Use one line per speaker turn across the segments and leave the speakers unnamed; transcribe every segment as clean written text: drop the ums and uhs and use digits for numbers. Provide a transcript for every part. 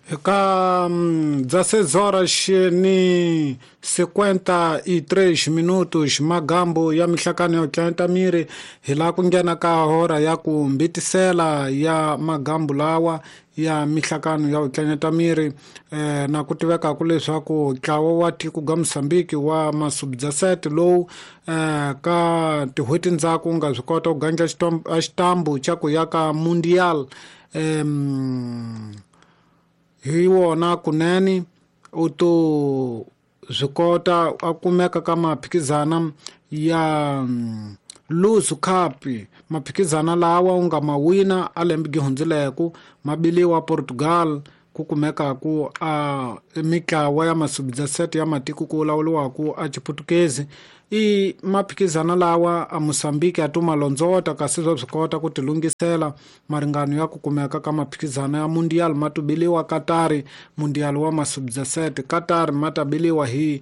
Ka 16 horas ni 53 minutos magambo ya mihlakano yo tlanta miri hi la ku nghena ka hora ya ku mbitisela ya magambo lawa ya mihlakano ya ku tlanyeta miri na ku tivekaku leswaku ntlawa wa tiko ga Mozambique wa masubjasete lowu ka tin'hweti ndzhaku nga swi kota ku gandla xitambu xa ku ya ka Mundial hi wona kunene u to swi kota a kumeka ka maphikizana ya Luzu Cup maphikizana lawa u nga ma wina a lembe gi hundzileku mabiliwa Portugal ku kumekaku a mitlawa ya masubjasete ya matiko ku lawuriwaku a Chiputukezi i maphikizana lawa a Mozambique a tuma londzota kasi swa swi kota ku tilunghisela maringano ya ku kumeka ka maphikizana ya Mundial ma tubiliwa Qatar Mundial wa masubjasete Qatar ma tabiliwa hi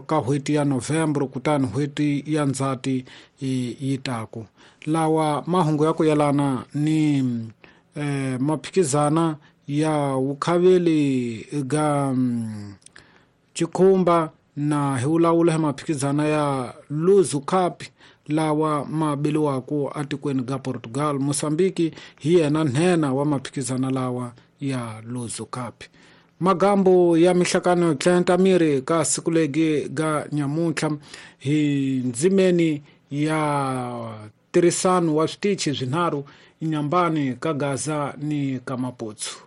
ka n'hweti ya November kutani n'hweti ya Ndzhati yi taku lawa mahungu ya ku yelana ni maphikizana ya vukhaveli ga Chikhumba na hi vulavula hi maphikizana ya Luzu Cup lawa ma biliwaku atikweni ga Portugal. Mozambique hi yena nhenha wa maphikizana lawa ya Luzu Cup. Magambo ya mihlakano yo tlenta miri ka siku legi ga nyamuntlha hi ndzimeni ya tirhisano wa switichi swinharhu inyambani ka Gaza ni ka Maputsu.